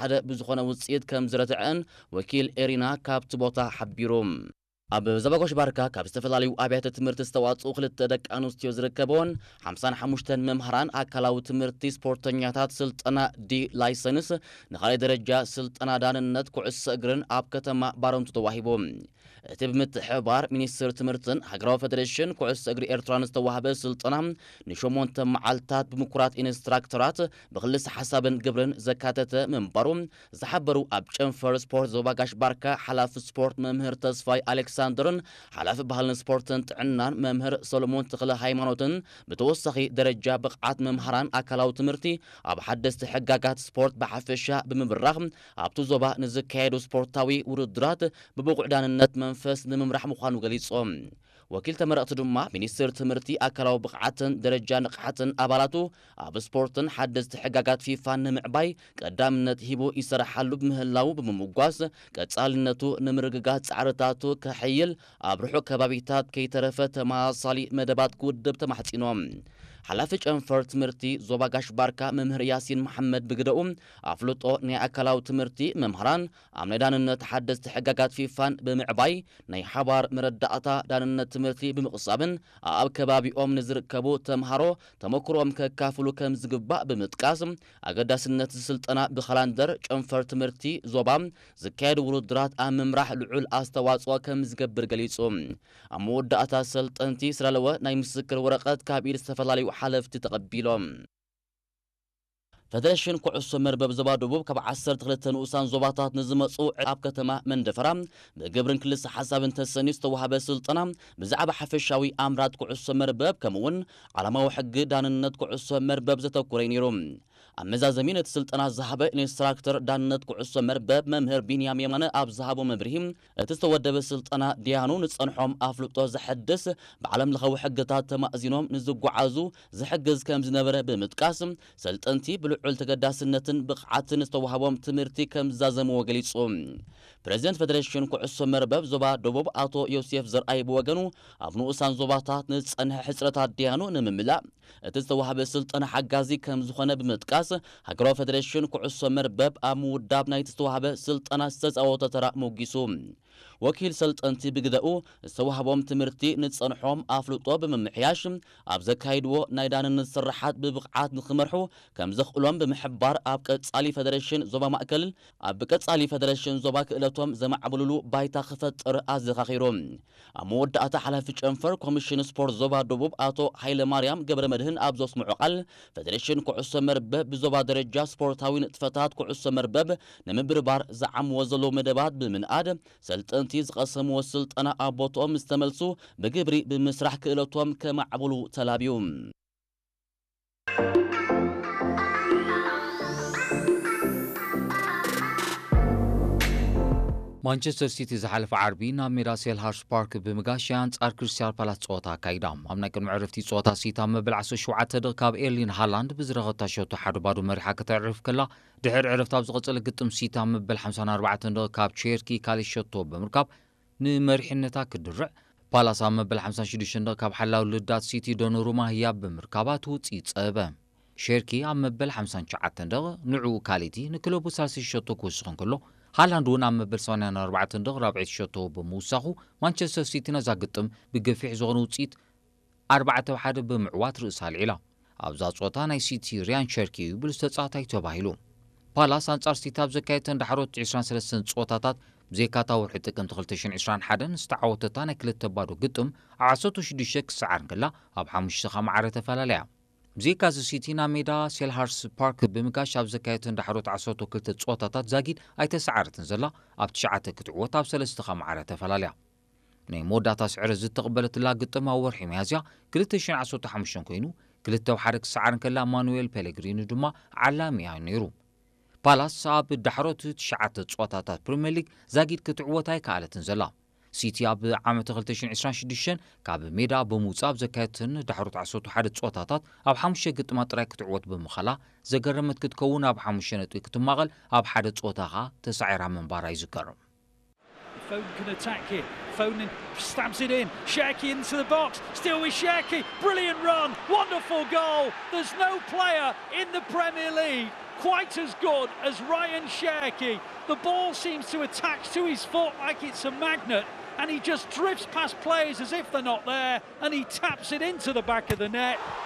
ሓደ ብዝኾነ ውፅኢት ከም ዝረትዐን ወኪል ኤሪና ካብቲ ቦታ ሓቢሩ። ኣብ ዞባ ጋሽ ባርካ ካብ ዝተፈላለዩ ኣብያተ ትምህርቲ ዝተዋፅኡ ክልተ ደቂ ኣንስትዮ ዝርከበውን ሓምሳን ሓሙሽተን መምሃራን ኣካላዊ ትምህርቲ ስፖርተኛታት ስልጠና ዲ ላይሰንስ ንኻልኣይ ደረጃ ስልጠና ዳንነት ኩዕሶ እግርን ኣብ ከተማ ባረንቱ ተዋሂቡ። እቲ ብምትሕብባር ሚኒስትር ትምህርትን ሃገራዊ ፌደሬሽን ኩዕሶ እግሪ ኤርትራን ዝተዋህበ ስልጠና ንሸሞንተ መዓልታት ብምኩራት ኢንስትራክተራት ብክልስ ሓሳብን ግብርን ዘካተተ ምንባሩ ዝሓበሩ ኣብ ጨንፈር ስፖርት ዞባ ጋሽ ባርካ ሓላፊ ስፖርት መምህር ተስፋይ ኣሌክሳንደርን ሓላፊ ባህልን ስፖርትን ጥዕናን መምህር ሰሎሞን ተኽለ ሃይማኖትን ብተወሳኺ ደረጃ ብቕዓት መምሃራን ኣካላዊ ትምህርቲ ኣብ ሓደስቲ ሕጋጋት ስፖርት ብሓፈሻ ብምብራኽ ኣብቲ ዞባ ንዝካየዱ ስፖርታዊ ውድድራት ብብቑዕ ዳንነት መንፈስ ንምምራሕ ምዃኑ ገሊጾም። ወኪል ተመረቕቲ ድማ ሚኒስትር ትምህርቲ ኣካላዊ ብቕዓትን ደረጃ ንቕሓትን ኣባላቱ ኣብ ስፖርትን ሓደስቲ ሕጋጋት ፊፋን ንምዕባይ ቀዳምነት ሂቡ ይሰርሓሉ ብምህላዉ ብምምጓስ ቀጻልነቱ ንምርግጋጽ ጻዕርታቱ ከሕይል ኣብ ርሑቕ ከባቢታት ከይተረፈ ተመሳሳሊ መደባት ክውድብ ተማሕጺኖም። ሓላፊ ጨንፈር ትምህርቲ ዞባ ጋሽ ባርካ መምህር ያሲን መሓመድ ብግደኡ ኣፍልጦ ናይ ኣካላዊ ትምህርቲ መምህራን ኣብ ናይ ዳንነት ሓደስቲ ሕጋጋት ፊፋን ብምዕባይ ናይ ሓባር መረዳእታ ዳንነት ትምህርቲ ብምቕሳብን ኣብ ከባቢኦም ንዝርከቡ ተምሃሮ ተመክሮኦም ከካፍሉ ከም ዝግባእ ብምጥቃስ ኣገዳስነት ስልጠና ብካላንደር ጨንፈር ትምህርቲ ዞባ ዝካየዱ ውድድራት ኣብ ምምራሕ ልዑል ኣስተዋፅኦ ከም ዝገብር ገሊጹ። ኣብ መወዳእታ ሰልጠንቲ ስላለወ ናይ ምስክር ወረቐት ካብ ኢድ ዝተፈላለዩ ሓለፍቲ ተቐቢሎም። ፈደሬሽን ኩዕሶ መርበብ ዞባ ደቡብ ካብ ዓሰርተ ክልተ ንኡሳን ዞባታት ንዝመፁ ኣብ ከተማ መንደፈራ ብግብርን ክልስ ሓሳብን ተሰንዩ ዝተዋሃበ ስልጠና ብዛዕባ ሓፈሻዊ ኣምራት ኩዕሶ መርበብ ከምኡውን ዓላማዊ ሕጊ ዳንነት ኩዕሶ መርበብ ዘተኮረ እዩ ነይሩ። ኣብ መዛዘሚ ነቲ ስልጠና ዝሃበ ኢንስትራክተር ዳንነት ኩዕሶ መርበብ መምህር ቢንያም የማነ ኣብ ዝሃቦ መብርሂ እቲ ዝተወደበ ስልጠና ዲያኑ ንፀንሖም ኣፍልጦ ዘሐድስ ብዓለም ለኻዊ ሕግታት ተማእዚኖም ንዝጓዓዙ ዝሕግዝ ከም ዝነበረ ብምጥቃስ ሰልጠንቲ ብልዑል ተገዳስነትን ብቕዓትን ዝተዋህቦም ትምህርቲ ከም ዝዛዘምዎ ገሊጹ። ፕሬዚደንት ፌደሬሽን ኩዕሶ መርበብ ዞባ ደቡብ ኣቶ ዮሴፍ ዘርኣይ ብወገኑ ኣብ ንኡሳን ዞባታት ንዝጸንሐ ሕጽረታት ዲያኑ ንምምላእ እቲ ዝተዋህበ ስልጠና ሓጋዚ ከም ዝኾነ ብምጥቃስ ሃገራዊ ፌደሬሽን ኩዕሶ መርበብ ኣብ ምውዳብ ናይቲ ዝተዋህበ ስልጠና ዝተጻወቶ ተራ ሞጊሱ። ወኪል ሰልጠንቲ ብግደኡ ዝተዋህቦም ትምህርቲ ንጸንሖም ኣፍልጦ ብምምሕያሽ ኣብ ዘካይድዎ ናይ ዳንነት ስርሓት ብብቕዓት ንክመርሑ ከም ዘኽእሎም ብምሕባር ኣብ ቀጻሊ ፌደሬሽን ዞባ ማእከል ኣብ ቀጻሊ ፌደሬሽን ዞባ ክእለቶም ዘማዕብሉሉ ባይታ ክፈጥር ኣዘኻኺሩ። ኣብ መወዳእታ ሓላፊ ጨንፈር ኮሚሽን ስፖርት ዞባ ደቡብ ኣቶ ሃይለ ማርያም ገብረ መድህን ኣብ ዘስምዖ ቃል ፌደሬሽን ኩዕሶ መርበብ ብዞባ ደረጃ ስፖርታዊ ንጥፈታት ኩዕሶ መርበብ ንምብርባር ዝዓምዎ ዘለዉ መደባት ብምንኣድ ሰልጠንቲ ዝቐሰምዎ ስልጠና ኣብ ቦትኦም ምስ ተመልሱ ብግብሪ ብምስራሕ ክእለቶም ከማዕብሉ ተላብዩ። ማንቸስተር ሲቲ ዝሓለፈ ዓርቢ ናብ ሜዳ ሴልሃርስ ፓርክ ብምጋሽ ኣንጻር ክሪስታል ፓላስ ጸወታ ኣካይዳ። ኣብ ናይ ቅድሚ ዕረፍቲ ጸወታ ሲቲ ኣብ መበል ዓሰርተ ሸውዓተ ደቂ ካብ ኤርሊን ሃላንድ ብዝረኸብታ ሸቶ ሓደ ባዶ መሪሓ ከተዕርፍ ከላ ድሕሪ ዕረፍቲ ኣብ ዝቐጸለ ግጥም ሲቲ ኣብ መበል ሓምሳን ኣርባዕተን ደቂ ካብ ቼርኪ ካልእ ሸቶ ብምርካብ ንመሪሕነታ ክድርዕ ፓላስ ኣብ መበል ሓምሳን ሽዱሽተን ደቂ ካብ ሓላው ልዳት ሲቲ ዶኖሩማ ህያብ ብምርካባ እቲ ውጽኢት ጸበ። ሼርኪ ኣብ መበል ሓምሳን ትሽዓተን ደቂ ንዕኡ ካሊቲ ንክለቡ ሳልሰይቲ ሸቶ ክውስኽ እንከሎ ሃላንድ እውን ኣብ መበል ሰማንያን ኣርባዕተን ደቂ ራብዐይቲ ሸቶ ብምውሳኹ ማንቸስተር ሲቲ ነዛ ግጥም ብገፊሕ ዝኾነ ውጽኢት ኣርባዕተ ብ ሓደ ብምዕዋት ርእሳ ኣልዒላ። ኣብዛ ጸወታ ናይ ሲቲ ሪያን ሸርኪ እዩ ብሉጽ ተጻዋታይ ተባሂሉ። ፓላስ ኣንጻር ሲቲ ኣብ ዘካየተን ዳሕሮት ዕስራን ሰለስተን ጸወታታት ብዘይካታ ወርሒ ጥቅምቲ ክልተ ሽሕን ዕስራን ሓደን ዝተዓወተታ ናይ ክልተ ባዶ ግጥም ኣብ ዓሰርተ ሽዱሽተ ክሰዓር እንከላ ኣብ ሓሙሽተ ከማዕረ ተፈላለያ። ብዘይካዚ ሲቲ ናብ ሜዳ ሴልሃርስ ፓርክ ብምጋሽ ኣብ ዘካየተን ዳሕሮት ዓሰርተ ክልተ ጸወታታት ዛጊድ ኣይተሰዓረትን ዘላ ኣብ ትሽዓተ ክትዕወት ኣብ ሰለስተ ከማዕረ ተፈላለያ። ናይ መወዳእታ ስዕረት ዝተቐበለትላ ግጥም ኣብ ወርሒ ሚያዝያ ክልተ ሽሕን ዓሰርተ ሓሙሽተን ኮይኑ ክልተ ብ ሓደ ክሰዓር እንከላ ማኑዌል ፔሌግሪኒ ድማ ዓላሚኣ ነይሩ። ፓላስ ኣብ ዳሕሮት ትሽዓተ ጸወታታት ፕሪምየር ሊግ ዛጊድ ክትዕወት ኣይከኣለትን ዘላ። ሲቲ ኣብ ዓመተ ክልተ ሽሕን ዕስራን ሽዱሽተን ካብ ሜዳ ብምውጻእ ኣብ ዘካየደተን ዳሕሮት ዓሰርተ ሓደ ጸወታታት ኣብ ሓሙሽተ ግጥማት ጥራይ ክትዕወት ብምኻላ ዘገረመት ክትከውን ኣብ ሓሙሽተ ነጥቢ ክትማቐል ኣብ ሓደ ጸወታ ከኣ ተሳዒራ ምንባራ ይዝከር። Foden can attack here. Foden stabs it in. Shaqi into the box. Still with Shaqi. Brilliant run. Wonderful goal. There's no player in the Premier League Quite as good as Ryan Cherki. The ball seems to attach to his foot like it's a magnet, and he just drifts past players as if they're not there, and he taps it into the back of the net.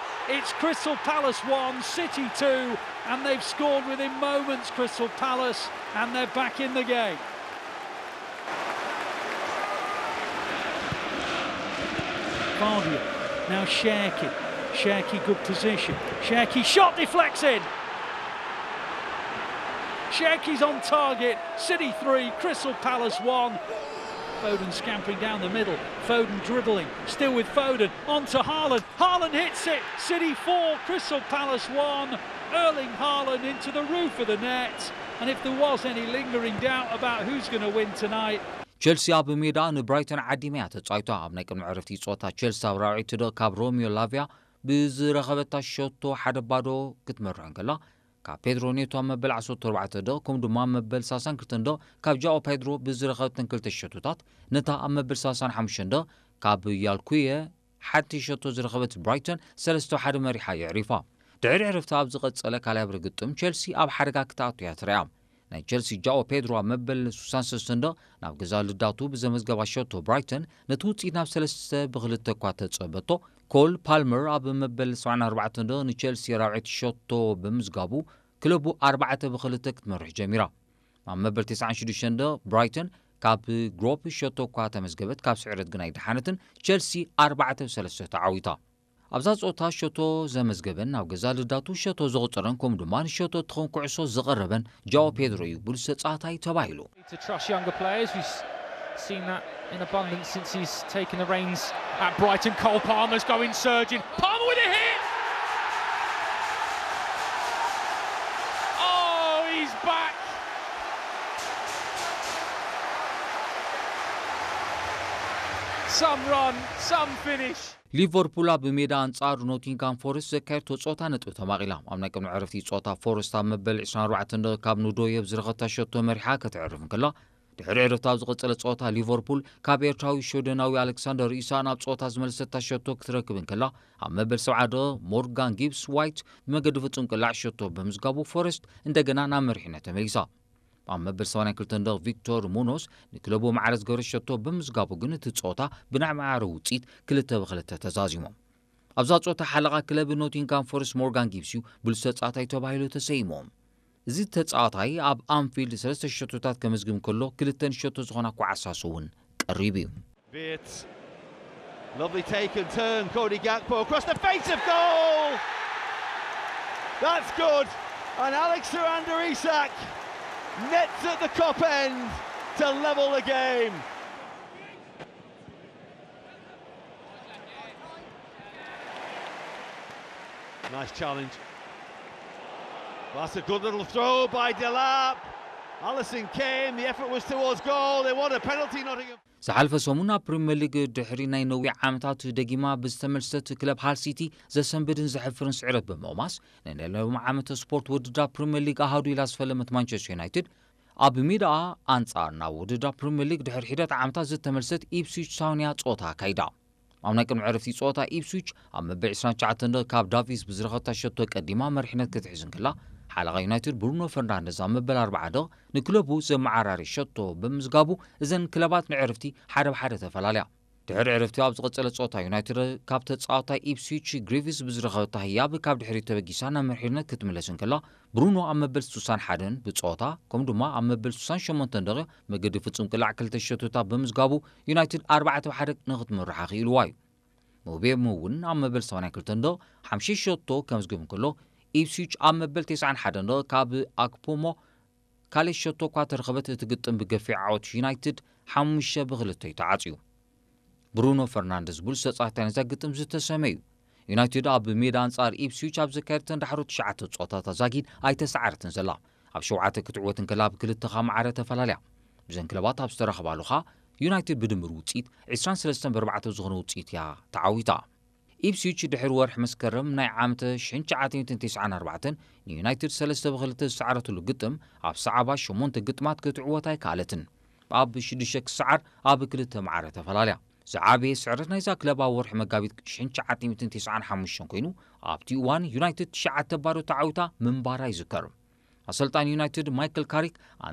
It's Crystal Palace one, City two, and they've scored within moments, Crystal Palace, and they're back in the game. Vardy, now Cherki. Cherki, good position. Cherki, shot deflected. Cherki's on target. City three, Crystal Palace one. Foden scampering down the middle. Foden dribbling. Still with Foden. On to Haaland. Haaland hits it. City four, Crystal Palace one. Erling Haaland into the roof of the net. And if there was any lingering doubt about who's going to win tonight, ቸልሲ ኣብ ሜዳ ንብራይተን ዓዲማ እያ ተጻዊታ። ኣብ ናይ ቅድሚ ዕረፍቲ ጸወታ ቸልሲ ኣብ ራብዒቲ ደቕ ካብ ሮሚዮ ላቪያ ብዝረኸበታ ሸቶ ሓደ ባዶ ክትመርሕ እንከላ፣ ካብ ፔድሮ ኔቶ ኣብ መበል ዓሰርተ ኣርባዕተ ደቕ ከምኡ ድማ ኣብ መበል ሰላሳን ክልተን ደቕ ካብ ጃኦ ፔድሮ ብዝረኸበተን ክልተ ሸቶታት፣ ነታ ኣብ መበል ሰላሳን ሓሙሽተን ደቕ ካብ ያልኩየ ሓንቲ ሸቶ ዝረኸበት ብራይተን ሰለስተ ሓደ መሪሓ የዕሪፋ። ድሕሪ ዕረፍቲ ኣብ ዝቐጸለ ካልኣይ ብርግጥም ቸልሲ ኣብ ሓደጋ ክትኣቱ እያ ትረኣ። ናይ ቸልሲ ጃኦ ፔድሮ ኣብ መበል ሱሳን ሰለስተን ደቕ ናብ ገዛ ልዳቱ ብዘመዝገባ ሸቶ ብራይተን ነቲ ውጽኢት ናብ ሰለስተ ብክልተ እኳ ተጸበቶ። ኮል ፓልመር ኣብ መበል ሰብዓን ኣርባዕተን ደቕ ንቸልሲ ራብዐይቲ ሸቶ ብምዝጋቡ ክለቡ ኣርባዕተ ብክልተ ክትመርሕ ጀሚራ። ኣብ መበል ተስዓን ሽዱሽተን ደቕ ብራይተን ካብ ግሮፕ ሸቶ እኳ ተመዝገበት ካብ ስዕረት ግን ኣይደሓነትን። ቸልሲ ኣርባዕተ ብሰለስተ ተዓዊታ። ኣብዛ ጸወታ ሸቶ ዘመዝገበን ናብ ገዛ ልዳቱ ሸቶ ዘቑጸረን ከምኡ ድማ ንሸቶ እትኸውን ኩዕሶ ዘቐረበን ጃኦ ፔድሮ እዩ ብሉጽ ተጻዋታይ ተባሂሉ። To trust younger players. We've seen that in abundance since he's taken the reins at Brighton. Cole Palmer's going surging. Palmer with a hit! Oh, he's back! Some run, some finish. ሊቨርፑል ኣብ ሜዳ ኣንጻር ኖቲንጋም ፎረስት ዘካየድቶ ጸወታ ነጥቢ ተማቒላ። ኣብ ናይ ቅድሚ ዕረፍቲ ጸወታ ፎረስት ኣብ መበል ዕስራን ኣርባዕተን ደቕ ካብ ኑዶየ ብዝረኸብታ ሸቶ መሪሓ ክትዕርፍ እንከላ፣ ድሕሪ ዕረፍቲ ኣብ ዝቐጸለ ጸወታ ሊቨርፑል ካብ ኤርትራዊ ሽወደናዊ ኣሌክሳንደር ኢሳቕ ናብ ጸወታ ዝመለሰታ ሸቶ ክትረክብ እንከላ፣ ኣብ መበል ሰብዓ ደቕ ሞርጋን ጊብስ ዋይት ብመገዲ ፍጹም ቅላዕ ሸቶ ብምዝጋቡ ፎረስት እንደገና ናብ መሪሕነት ተመሊሳ። ኣብ መበል ሰማንያን ክልተን ደቕ ቪክቶር ሙኖስ ንክለቡ ማዕረ ዝገበረ ሸቶ ብምዝጋቡ ግን እቲ ጸወታ ብናይ ማዕረ ውጽኢት ክልተ ብክልተ ተዛዚሞም። ኣብዛ ጸወታ ሓለቓ ክለብ ኖቲንጋም ፎረስት ሞርጋን ጊብስ እዩ ብሉጽ ተጻዋታይ ተባሂሉ ተሰይሙ። እዚ ተጻዋታይ ኣብ ኣንፊልድ ሰለስተ ሸቶታት ከመዝግብ እንከሎ ክልተ ንሸቶ ዝኾና ኳዕሳስ እውን ቀሪቡ እዩ። Viet. Lovely take and turn, Cody Gakpo across the face of goal! That's good! And Alexander Isak nets at the cop end to level the game. Nice challenge. That's a good little throw by Delap. Allison came, the effort was towards goal. They want a penalty, Nottingham. ዝሓለፈ ሰሙን ኣብ ፕሪምየር ሊግ ድሕሪ ናይ ነዊሕ ዓመታት ደጊማ ብዝተመልሰት ክለብ ሃል ሲቲ ዘሰንብድን ዘሕፍርን ስዕረት ብምቕማስ፣ ንናይ ሎሚ ዓመት ስፖርት ውድድር ፕሪምየር ሊግ ኣሃዱ ኢላ ዝፈለመት ማንቸስተር ዩናይትድ፣ ኣብ ሜዳኣ ኣንጻር ናብ ውድድር ፕሪምየር ሊግ ድሕሪ ሒደት ዓመታት ዝተመልሰት ኢፕስዊች ታውንያ ጸወታ ኣካይዳ። ኣብ ናይ ቅድሚ ዕረፍቲ ጸወታ ኢፕስዊች ኣብ መበል ዕስራን ትሽዓተን ደቕ ካብ ዳቪስ ብዝረኸብታ ሸቶ ቀዲማ መሪሕነት ክትሕዝ እንከላ፣ ሓለቓ ዩናይትድ ብሩኖ ፈርናንደዝ ኣብ መበል ኣርብዓ ደቕ ንክለቡ ዘመዓራሪ ሸቶ ብምዝጋቡ እዘን ክለባት ንዕረፍቲ ሓደ ብሓደ ተፈላለያ። ድሕሪ ዕረፍቲ ኣብ ዝቐጸለ ጸወታ ዩናይትድ ካብ ተጻዋታይ ኢፕስዊች ግሪፊስ ብዝረኸበታ ህያብ ካብ ድሕሪት ተበጊሳ ናብ መሪሕነት ክትምለስ እንከላ፣ ብሩኖ ኣብ መበል ስሳን ሓደን ብጸወታ ከምኡ ድማ ኣብ መበል ስሳን ሸሞንተን ደቒቕ መገዲ ፍጹም ቅላዕ ክልተ ሸቶታት ብምዝጋቡ ዩናይትድ ኣርባዕተ ብሓደ ንኽትምርሓ ክኢልዋ እዩ። ሞቤሞ እውን ኣብ መበል ሰማንያን ክልተን ደቒቕ ሓሙሽተ ሸቶ ከምዝግብ እንከሎ፣ ኢፕስዊች ኣብ መበል ተስዓን ሓደን ደቒቕ ካብ ኣክፖሞ ካልእ ሸቶ እኳ ተረኸበት፣ እቲ ግጥም ብገፊሕ ዓወት ዩናይትድ ሓሙሽተ ብክልተ እዩ ተዓጽዩ። ብሩኖ ፈርናንደዝ ብሉጽ ተጻዋታይ ናይዛ ግጥም ዝተሰመዩ። ዩናይትድ ኣብ ሜዳ ኣንጻር ኢፕስዊች ኣብ ዘካየደተን ዳሕሮ ትሽዓተ ጸወታታት ዛጊድ ኣይተሰዓረትን ዘላ። ኣብ ሸውዓተ ክትዕወት እንከላ ኣብ ክልተ ከኣ ማዕረ ተፈላልያ። ብዘን ክለባት ኣብ ዝተራኸባሉ ከኣ ዩናይትድ ብድምር ውጽኢት ዕስራን ሰለስተን ብኣርባዕተ ዝኾነ ውጽኢት እያ ተዓዊታ። ኢፕስዊች ድሕሪ ወርሒ መስከረም ናይ ዓመተ ሽሕን ትሽዓተ ሚእትን ተስዓን ኣርባዕተን ንዩናይትድ ሰለስተ ብክልተ ዝሰዓረትሉ ግጥም ኣብ ሰዓባ ሸሞንተ ግጥማት ክትዕወት ኣይከኣለትን። ኣብ ሽዱሽተ ክሰዓር ኣብ ክልተ ማዕረ ተፈላልያ። ዝዓበየ ስዕረት ናይዛ ክለብ ኣብ ወርሒ መጋቢት ሽሕን ትሽዓተ ሚእትን ተስዓን ሓሙሽተን ኮይኑ ኣብቲ እዋን ዩናይትድ ትሽዓተ ባዶ ተዓዊታ ምንባራ ይዝከር። ኣሰልጣኒ ዩናይትድ ማይክል ካሪክ